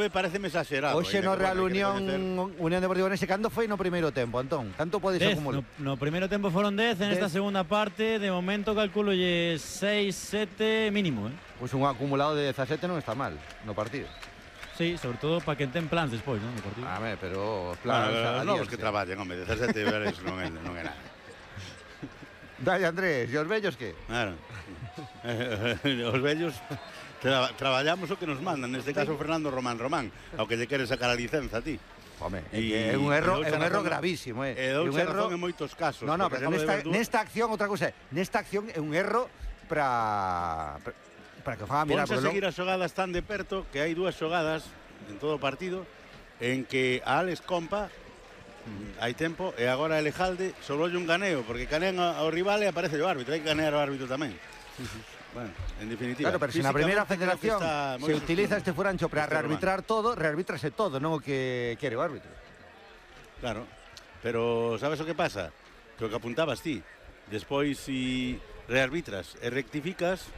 Pareceme exagerado. Hoxe no Real Unión Deportiva Ourense, cando foi no primeiro tempo, Antón? Canto podes acumular? No primeiro tempo foron 10, en esta segunda parte, de momento calculo 6, 7 mínimo, Pois un acumulado de 17 non está mal no partido. Sí, sobre todo para que ten plans despois, non, no partido. Pero os plans... Os novos que traballan, home, 17 veres non é nada. Dai, Andrés, e os vellos que? Claro. Os vellos traballamos o que nos mandan, neste caso Fernando Román, ao que lle quere sacar a licenza a ti. Home, é un erro gravísimo, E doucha razón en moitos casos. No, pero nesta acción, outra cousa, nesta acción é un erro para que faga mirar. Ponse a seguir as xogadas tan de perto que hai dúas xogadas en todo o partido en que a Alex Compa hai tempo e agora a Elejalde sololle un ganeo porque canean ao rival e aparece o árbitro, hai que ganear ao árbitro tamén. Bueno, en definitiva. Claro, pero se na primeira federación se utiliza este furancho para rearbitrar todo, rearbitrase todo, non o que quere o árbitro. Claro, pero sabes o que pasa? Que o que apuntabas ti, despois si rearbitras e rectificas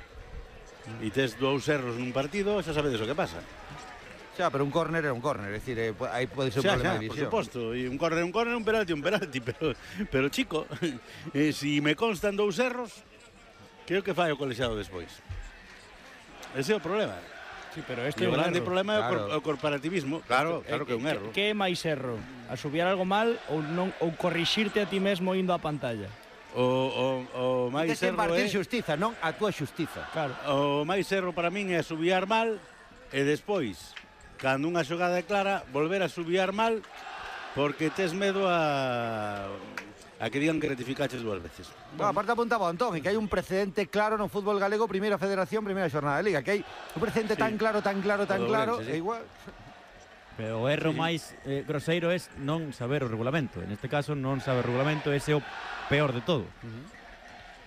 e tes dous erros nun partido, xa sabedes o que pasa. Xa, pero un córner é un córner, é dicir, aí pode ser un problema de visión. Por suposto, e un córner, un penalti, pero chico, si me constan dous erros, creo que fai o colexiado despois. Ese é o problema. Sí, pero este o grande problema é o corporativismo. Claro que é un erro. Que é máis erro? Asubiar algo mal ou corrixirte a ti mesmo indo á pantalla? O máis erro é impartir xustiza, non a túa xustiza. Claro. O máis erro para min é asubiar mal e despois, cando unha xogada é clara, volver a asubiar mal porque tes medo a que digan que rectificaches dúas veces. Aparte apuntaba Antón, que hai un precedente claro no fútbol galego, primeira federación, primeira xornada de liga, que hai un precedente tan claro, é igual. Pero o erro máis groseiro é non saber o regulamento. En este caso, non saber o regulamento, ese é o peor de todo.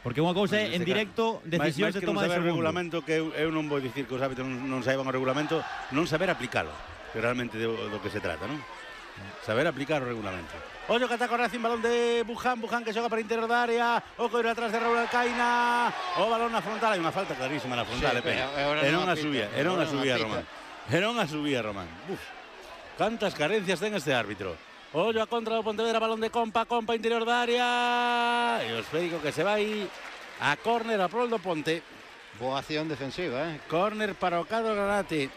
Porque unha cousa é en directo decisións de toma de segundo. Mais que non saber o regulamento, que eu non vou dicir que os árbitros non saiban o regulamento, non saber aplicalo, que realmente do que se trata, non? Saber aplicar o regulamento. Ollo que ataca o Racing, balón de Buján que xoga para interior da área, o coiro atrás de Raúl Alcaina, o balón na frontal, hai unha falta clarísima na frontal, e non a subía Román. Cantas carencias ten este árbitro. Ollo a contra do Pontevedra, balón de Compa interior da área, e o esférico que se vai a córner a prol do Ponte. Boa acción defensiva, Córner para o Cadro Granate,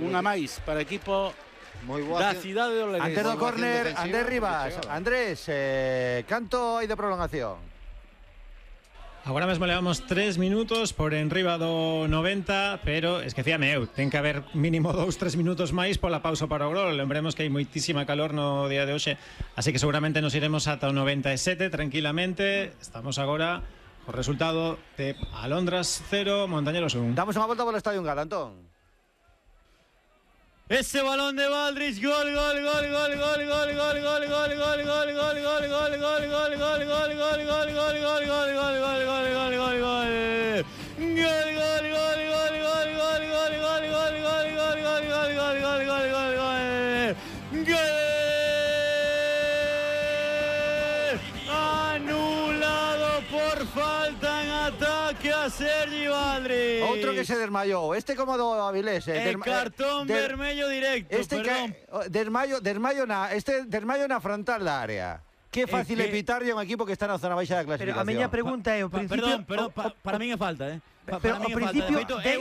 unha máis para o equipo da cidade de Ourense. Antes do córner, Andrés Rivas. Andrés, canto hai de prolongación? Agora mesmo levamos 3 minutos por enriba do 90, pero esquecíame eu, ten que haber mínimo 2-3 minutos máis pola pausa para o gol. Lembremos que hai moitísima calor no día de hoxe, así que seguramente nos iremos ata o 97 tranquilamente. Estamos agora o resultado de Alondras 0, Montañeros 1. Damos unha volta polo Estadio Gal, Antón. Ese balón de Valdris, gol. Anulado por falta en ataque a Sergi Valdris. Outro que se desmayou. Este como do Avilés. Cartón vermello directo, perdón. Desmayo na frontal da área. Que fácil é pitarlle a un equipo que está na zona baixa da clasificación. Pero a miña pregunta é o principio... Perdón, para min é falta, Pero ao principio é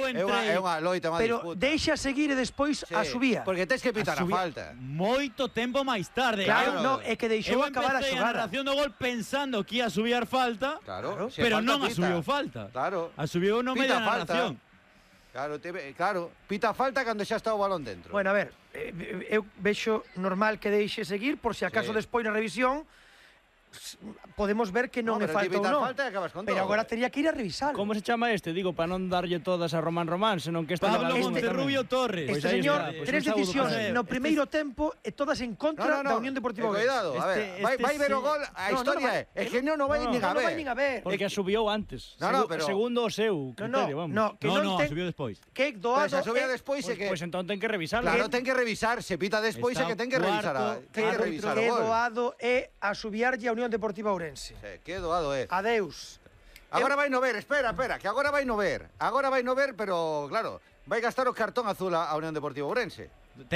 unha loita, unha disputa. Pero deixa seguir e despois a subía. Porque tens que pitar a falta. Moito tempo máis tarde. Claro, non, é que deixou acabar a xogada. Eu empecé a narración do gol pensando que ia subir falta, pero non a subiu falta. Claro. A subiu no medio da narración. Claro, pita falta cando xa está o balón dentro. Bueno, a ver, eu vexo normal que deixe seguir por se acaso despois na revisión podemos ver que non é falta ou non. Pero agora tería que ir a revisar. Como se chama este? Digo, para non darlle todas a Román, senón que este Pablo Monterrubio Torres. Este señor, tres decisións no primeiro tempo e todas en contra da Unión Deportiva Ourense. Cuidado, a ver, vai ver o gol, a historia é que non vai nin a ver. Porque a subiu antes. Segundo o seu criterio, vamos. No, subiu despois. Que doado. Se subía despois é que... Pois entón ten que revisar. Claro, ten que revisar, se pita despois é que ten que revisar o gol. Que doado é a subiarlle a Unión Deportiva Ourense. Que doado é. Adeus. Agora vai no ver, espera, que agora vai no ver. Agora vai no ver, pero claro, vai gastar o cartón azul a Unión Deportiva Ourense.